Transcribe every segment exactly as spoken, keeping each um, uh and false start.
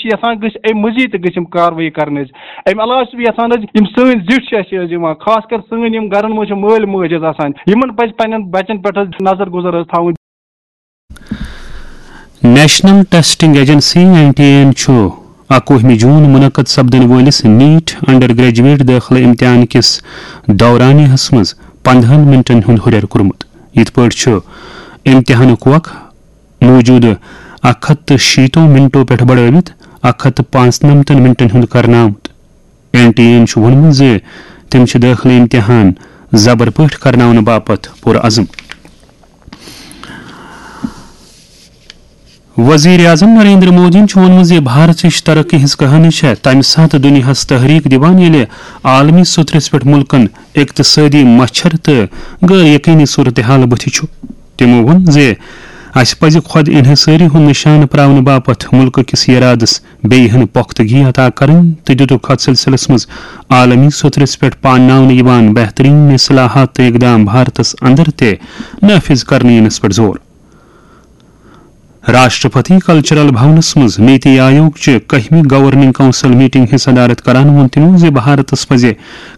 چھِ یَژھان گٔژھۍ اَمہِ مٔزیٖد تہِ گٔژھۍ یِم کاروٲیی کَرٕنۍ حظ۔ اَمہِ علاوٕ چھُس بہٕ یَژھان حظ، یِم سٲنۍ زِٹھۍ چھِ اَسہِ حظ یِوان، خاص کر سٲنۍ یِم گَرَن منٛز چھِ مٲلۍ مٲج حظ آسان، یِمَن پَزِ پنٛنٮ۪ن بَچَن پٮ۪ٹھ حظ نظر گُزر حظ تھاوٕنۍ۔ National testing agency, N T A, چھُ اَکوُہمہِ جوٗن منعقد سپدن وٲلِس نیٹ انڈر گریجویٹ دٲخلہٕ امتحان کِس دورانیہس منٛز پندہن منٹن ہُنٛد ہُرٮ۪ر کوٚرمُت۔ یِتھ پٲٹھۍ چھُ امتحانُک وق موٗجوٗدٕ اکھ ہتھ تہٕ شیٖتو منٹو پٮ۪ٹھ بڑٲوِتھ اکھ ہتھ تہٕ پانٛژنمتن منٹن ہُنٛد کرنہٕ آمُت۔ این ٹی اے چھُ ووٚنمُت زِ تِم چھِ دٲخلہٕ امتحان زبر پٲٹھۍ کرناونہٕ باپتھ پُرعزم۔ وزیر اعظم نریندر مودیَن چھُ ووٚنمُت زِ بھارتٕچ ترقی ہٕنٛز کہانی چھےٚ تَمہِ ساتہٕ دُنیاہَس تحریک دِوان، ییٚلہِ عالمی سطرس پٮ۪ٹھ مُلکَن اقتصٲدی مچھر تہٕ غٲر یقینی صورتحال بٕتھِ چھُ۔ تِمَو ووٚن زِ اَسہِ پَزِ خۄد انحصٲری ہُنٛد نشانہٕ پراونہٕ باپتھ مُلکہٕ کِس ارادس بیٚیہِ ہن پۄختگی عطا کرٕنۍ تہٕ دِتُکھ اتھ سلسلس منٛز عالمی سطرس پٮ۪ٹھ پانناونہٕ یِوان بہترین اصلاحات تہٕ اقدام بھارتس اندر تہِ نافذ کرنہٕ یِنس پٮ۪ٹھ زور۔ راشٹرپتی کلچرل بھونس منٛز نیتی آیوگ چہِ کٔہمہِ گورننگ کونسل میٹنگ ہٕنٛز صدارت کران ووٚن تِمو زِ بھارتس پزِ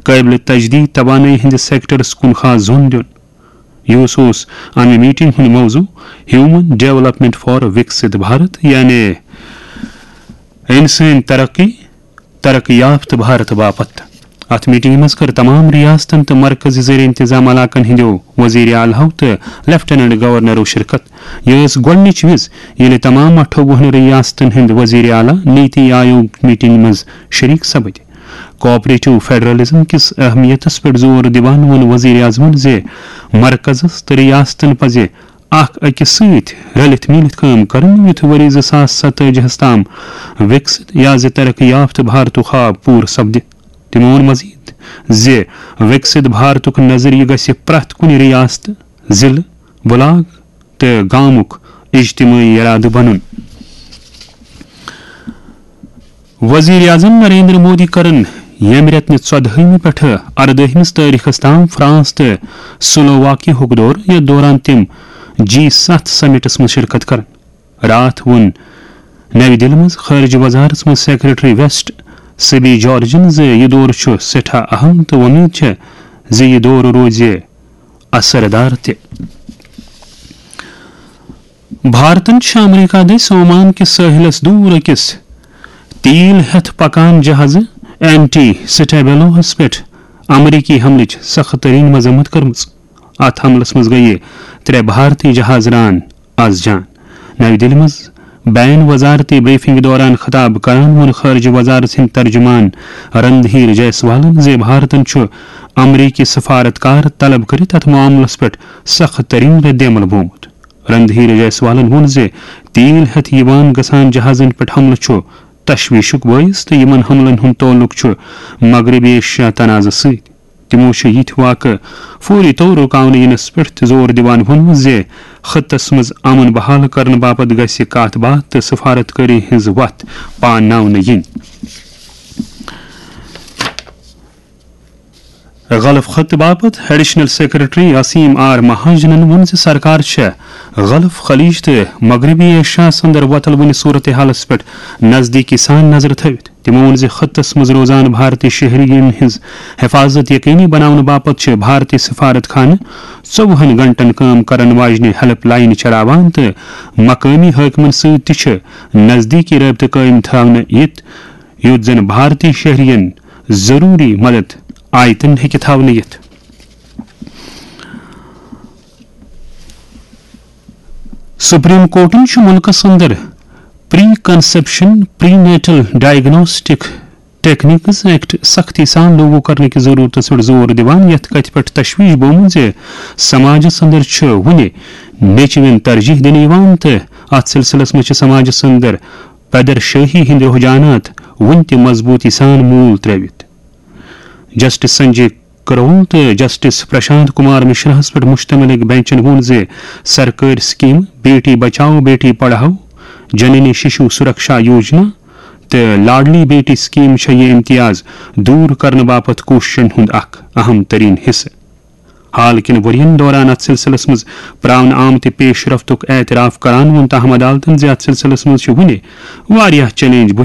قٲبلِ تجدید توانٲیی ہٕنٛدِس سیکٹرس کُن خاص زوٚن دیُن۔ یُس اوس امہِ میٹنگ ہُنٛد موضوع ہیومن ڈیولپمنٹ فار وکسِت بھارت، یعنی انسٲنی ترقی، ترقی یافتہٕ بھارت باپتھ۔ اتھ میٹنگہِ منٛز کٔر تمام ریاستن تہٕ مرکزی زیر انتظام علاقن ہٕنٛدیو وزیر اعلیٰ تہٕ لیفٹیننٹ گورنرو شرکت۔ یہِ ٲس گۄڈٕنِچ وِز، ییٚلہِ تمام اَٹھووُہن ریاستن ہٕنٛدۍ وزیر اعلیٰ نیتی آیوگ میٹنگہِ منٛز شریک سپٕدۍ۔ کوآپریٹو فیڈرلزم کِس اہمیتس پٮ۪ٹھ زور دِوان ووٚن وزیر اعظمن زِ مرکزس تہٕ ریاستن پزِ اکھ أکِس سۭتۍ رلِتھ میٖلِتھ کٲم کرٕنۍ، یُتھ ؤری زٕ ساس ستٲجی ہَس تام وِکسِت یا زِ ترقی یافتہٕ بھارتُک خواب پوٗرٕ سپدِ۔ تِمو ووٚن مزید زِ وِکسِت بھارتُک نظریہٕ گژھِ پرٛٮ۪تھ کُنہِ ریاست، ضلعہٕ، بلاک تہٕ گامُک اجتمٲعی ارادٕ بنُن۔ وزیر اعظم نریندر مودی کرن ییٚمہِ رٮ۪تہٕ ژۄدہٲیمہِ پٮ۪ٹھٕ اردٲہمِس تٲریخس تام فرانس تہٕ سلوواکیاہُک دورٕ، یتھ دوران تِم جی ستھ سمٹس منٛز شرکت کرن۔ راتھ ووٚن نَوِ دِلہِ منٛز خارجہ وزارتس منٛز سیکرٹری ویسٹ سبی جارجن زِ یہِ دورٕ چھُ سٮ۪ٹھاہ اہم تہٕ وۄمید چھےٚ زِ یہِ دورٕ روزِ اثر دار تہِ۔ بھارتن چھِ امریکہ دٔسۍ عمان کِس سٲحلس دوٗر أکِس تیٖل ہٮ۪تھ پکان جہازٕ اینٹی سٹیبیلوہس پٮ۪ٹھ امریکی حملٕچ سخت ترین مذمت کٔرمٕژ۔ اتھ حملس منٛز گٔیہِ ترٛےٚ بھارتی جہاز ران از جان۔ نَوِ دِلہِ منٛز بین وزارتی بریفنگ دوران خطاب کران ووٚن خارجہ وزارت ہٕنٛدۍ ترجمان رندھیر جیسوالن زِ بھارتن چھُ امریکی سفارتکار طلب کٔرِتھ اتھ معاملس پٮ۪ٹھ سخت ترین رد عمل بومُت۔ رندھیر جیسوالن ووٚن زِ تیل ہٮ۪تھ یِوان گژھان جہازن پٮ۪ٹھ حملہٕ چھُ تشویشُک بٲعث تہٕ یِمن حملن ہُنٛد تعلق چھُ مغربی ایشیا تنازٕ سۭتۍ۔ تِمو چھُ یِتھۍ واقعہٕ فوری طور رُکاونہٕ یِنس پٮ۪ٹھ تہِ زور دِوان ووٚنمُت زِ خطس منٛز امن بحال کرنہٕ باپتھ گژھِ کتھ باتھ تہٕ سفارتکٲری ہٕنٛز وتھ پانناونہٕ یِنۍ۔ غلف خطہٕ باپتھ ایڈیشنل سیکرٹری عصیم آر مہاجنن ووٚن زِ سرکار چھےٚ غلف خلیج تہٕ مغربی ایشیا اندر وۄتلوٕنہِ صورتحالس پٮ۪ٹھ نزدیکی سان نظر تھٲوِتھ۔ تِمو ووٚن زِ خطس منٛز روزان بھارتی شہرین ہٕنٛز حفاظت یقینی بناونہٕ باپتھ چھِ بھارتی سفارت خانہٕ ژوٚوُہن گھنٹن کٲم کرن واجنہِ ہیلپ لاین چلاوان تہٕ مقٲمی حٲکمن سۭتۍ تہِ چھِ نزدیکی رٲبطہٕ قٲیِم تھاونہٕ یِتھ، یُتھ زن بھارتی شہرین ضروری مدد آیتن ہیٚکہِ تھاونہٕ یِتھ۔ سپریم کورٹن چھُ مُلکس اندر پری کنسپشن پری نیٹل ڈائگنوسٹک ٹیکنیکس ایکٹ سختی سان لاگو کرنہٕ کِس ضرورتس پٮ۪ٹھ زور دِوان، یتھ کتھِ پٮ۪ٹھ تشویش بومُت زِ سماجس اندر چھُ وُنہِ نیچوٮ۪ن ترجیح دِنہٕ یِوان تہٕ اتھ سلسلس منٛز چھِ سماجس اندر پیدر شٲہی ہٕنٛدۍ رجحانات وُنہِ تہِ مضبوٗطی سان موٗل ترٲوِتھ۔ جسٹس سنجے کرول تہٕ جسٹس پرشانت کمار مشراہس پٮ۪ٹھ مشتمل أکۍ بینچن ووٚن زِ سرکٲرۍ سکیمہٕ بیٹی بچاؤ بیٹی پڑھاؤ، جننی ششو سرکشا یوجنا تہٕ لاڈلی بیٹی سکیم چھےٚ یہِ امتیاز دوٗر کرنہٕ باپتھ کوٗششن ہُنٛد اکھ اہم ترین حصہٕ۔ حال کٮ۪ن ؤرین دوران اتھ سلسلس منٛز پراونہٕ آمتہِ پیش رفتُک اعتراف کران ووٚن تاہم عدالتن زِ اتھ سلسلس منٛز چھِ وُنہِ واریاہ چیلنج بُتھِ